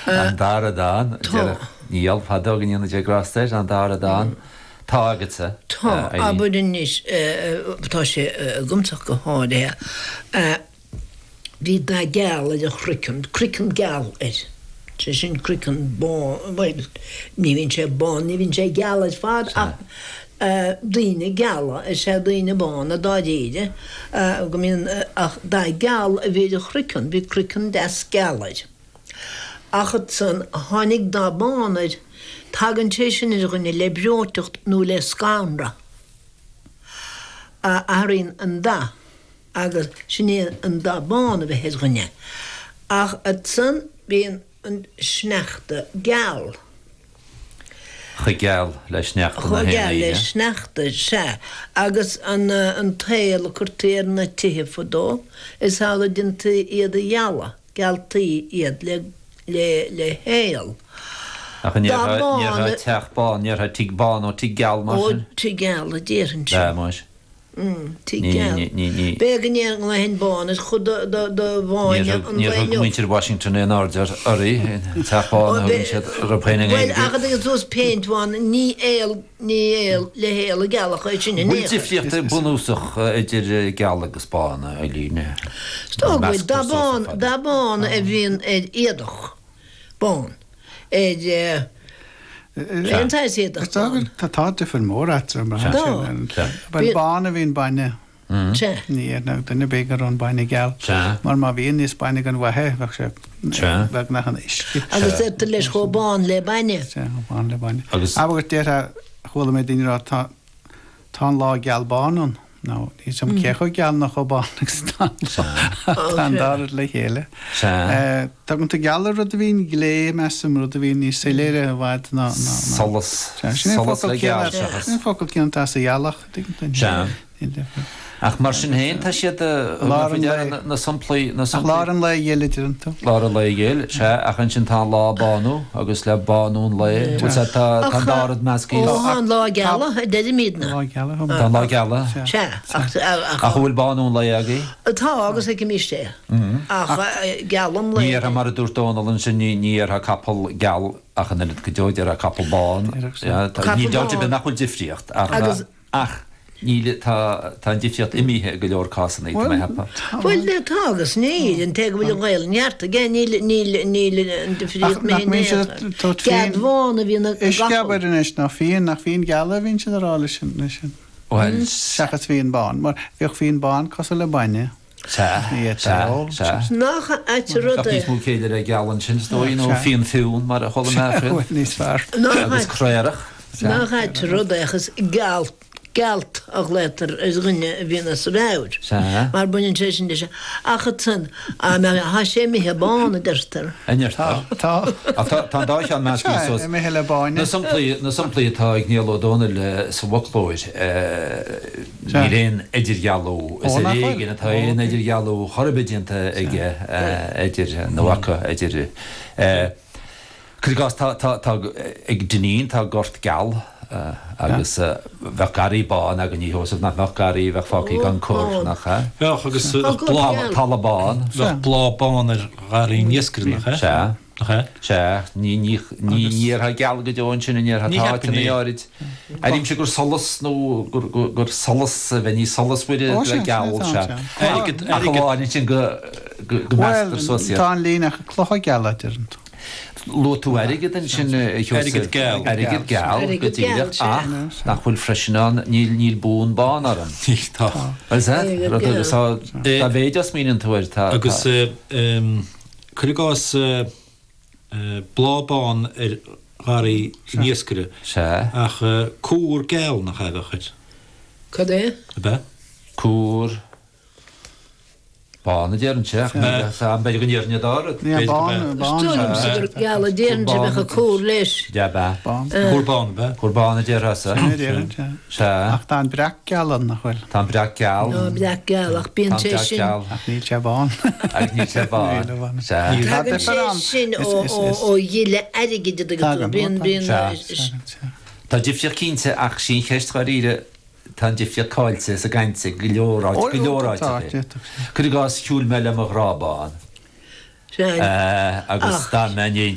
An dara dán, déarfadh Niall fadó go ndéana Dia grásta air, an dara dán, tá agatsa, Tá, abair anois, tá sé agamsa ach go háirithe. Bhí dath geal ar a chroiceann, croiceann geal air, sé sin croiceann bán, bhuel, ní bhíonn sé bán, ní bhíonn sé geal ar fad ach daoine geala is ea daoine bána dáiríre, go mbíonn, ach dath geal a bhí ar a chroiceann, bhí croiceann deas geal air. Ach ansan tháinig dath bán air, tagann sé sin ar dhuine le breoiteacht nó le scanradh, a athraíonn an dath. agus sin é an dath bán a bheith ar dhuine, ach ansan bíonn an sneachta geal. Chomh geal le sneachta na Chomh haon geal le oíche. sneachta, sea. Agus an an t-aol a cuirtí ar na tithe fadó, is amhlaidh déantaí iad a ghealadh, gealtaí iad le le le haol. Ach an Dath ndéarfá bán ndéarfá a. teach bán, ndéarfá tigh bán nó tigh geal mar Ó, sin? tigh geal a déarfainnse. B'ea, más. Tigh geal. B'fhéidir go nglaofainn bán ar chuid de bháine an Níor lae thug inniu. muintir Washington aon aird uirthi, teach bán a thugann siad orthu féin i Bhuel, nGaeilge. ach a dtugann suas péint bhán, ní aol, ní aol le haol a gealach é sin in Bhfuil aon chor. difríocht bunúsach idir geal agus bán, a Eileen? Is dóigh go bhfuil. Dath bán, dath bán a bhíonn ar éadach bán, ar. Aon tsaghas éadach bán. Tá tá difear mór eatarthu mar sin. Bhuel bán a bhíonn bainne. Sea. Ní dhéarfadh duine ar bith go raibh an bainne geal. Mar má bhíonn níos bainne den mhaith é, bheadh sé beagnach ina uisce. Agus deirtear leis chomh bán le bainne. Sea, chomh bán le bainne. Agus déarfá, chuala mé daoine ag rá tá Tá an lá geal bán ann. Nó, níl 's agam cé chomh geal nó chomh bán agus atá an lá. Tá an dá rud le chéile. Tugann tú geal ar rud a bhíonn glé, measaim, rud a bhíonn níos soiléire i bhfad ná. Solas. Solas le geal seachas. Sin é an focal céanna atá sa ghealach, an dtuigeann tú? Sea. Ach mar sin féin, tá siad, Lár an lae. na samplaí, na Ach samplaí. lár an lae ghil a deireann tú. Lár an lae ghil, sea, ach ansin tá an lá bánú agus le bánú an lae, bhfuil sé, tá, tá an dá rud measctha. Ó, tá an lá geala, a deirimidne. Lá geala. Tá an lá geala. Sea, ach, ach. Ach an bhfuil bánú an lae agaibh? Tá, agus feicimís é. Ach geal an lae. Ní dhéarfá mar a dúirt Dónall ansin, ní, ní dhéarfá capall geal ach an oiread go deo, déarfá capall bán. Capall Níl dabht ar bán. bith nach bhfuil difríocht ach. Ach níl, tá, tá an difríocht imithe i go leor cásanna, tá mé a cheapadh. Bhuel, tá agus níl. An té go bhfuil an Ghaelainn ceart aige, níl, níl, níl an difríocht Ach nach imithe in mbíonn aon siad chor. ag tabhairt Cead fíon, bhán a bhíonn ag an uisce gcapall. abair anois, nó fíon, nach fíon geal a bhíonn siad a rá leis an, leis an, Bhuel, seachas fíon bán, mar bheadh fíon bán cosúil le bainne. sea, Ní sea, fhéadfá a ól. sea. Nach ait an rud Bheadh é. níos mó céille le geal ansin, is dóigh, nó Sea. fíon fionn, mar a chuala mé Sea, faoi. bhuel, níos fearr. Nach Agus ait. craorach. Nach ait an rud é ach is geal, gealt a ghlaotar ar dhuine a bhíonn as a mheabhair. Sea. Mar baineann sé sin leis. Ach ansan, tá sé imithe bán, a deirtear. A ndeirtear. Tá. Ach tá, tá an dá cheann measctha Sea, suas. imithe le báine. Na samplaí, na samplaí atá ag Niall Ó Dónaill sa bhfoclóir, níl aon idirdhealú, is Ó, ar nach bhfuil? éigean atá aon idirdhealú chor ar bith déanta aige idir, nó acu, idir. Cuir i gcás, tá, tá, tá, ag Dineen tá gort geal agus bheadh garraí bán againn, a Sheosaimh, nach mbeadh garraí a bheadh fágtha gan cur, nach ea? Bheadh, agus Tá bheadh gort bláth, geal. Talamh bán. bheadh bláth bán ar gharraí an iascaire, nach ea? Sea. Nach ea? Sea, ní, ní, ní, ní dhéarfá geal go deo ansin, an ndéarfá? Ní Tá cheapfainn áiteanna é. áirid. Airímse gur solas nó gur, gur, gur solas a bheith níos solasmhaire Ó, le sea, sea, geal, tá, sea. sea. Airgead, Ach airgead. amháin ansin go, go, go Bhuel, measctar suas iad. tá an líne ach clocha geala, a deireann tú. Luaigh tú airgead ansin, a Sheosaimh. Airgead geal. Airgead geal, go Airgead geal, díreach, sea. ach nach bhfuil freisin ann, níl, níl bún bán orm. Níl, tá. Bhuel, sea, Airgead rud geal. agus tá, dá mhéid a smaoiníonn tú air, tá, Agus tá. cuir i gcás bláth bán ar gharraí an iascaire, Sea. ach cúr geal nach ea a bheadh air? Cad é? Ab ea? Cúr. Bán a déarfainnse, ach níl a fhios a'm, b'fhéidir go ndéarfainn an dá rud. Ní bán, Is bán. dóigh liomsa gur geal a déarfainnse a bheadh ag cúr leis. Dea bea. Bán. Cúr bán, ab ea? Cúr bán a déarfása. Sin a déarfainn, sea. Sea. Ach tá an breac geal ann, nach bhfuil? Tá an breac geal. Tá an breac geal, ach bíonn Tá an sé breac sin. geal. Ach níl sé bán. Agus níl sé bán. Níl bán. Sea. Tá Tagann difear sé ann. sin Is- ó is- ó is- ó ghile airgid a dtuigeann tú. Tagann, ó, Bíonn, tagann. bíonn. Sea. Tagann, sea. Tá difríocht cinnte ach sí an cheist dháiríre, Tá an difríocht caillte sa gcaint i go leor áit, go leor áiteacha. Cuir i gcás, shiúil mé le mo ghrá bán agus d'fhan mé in éindí.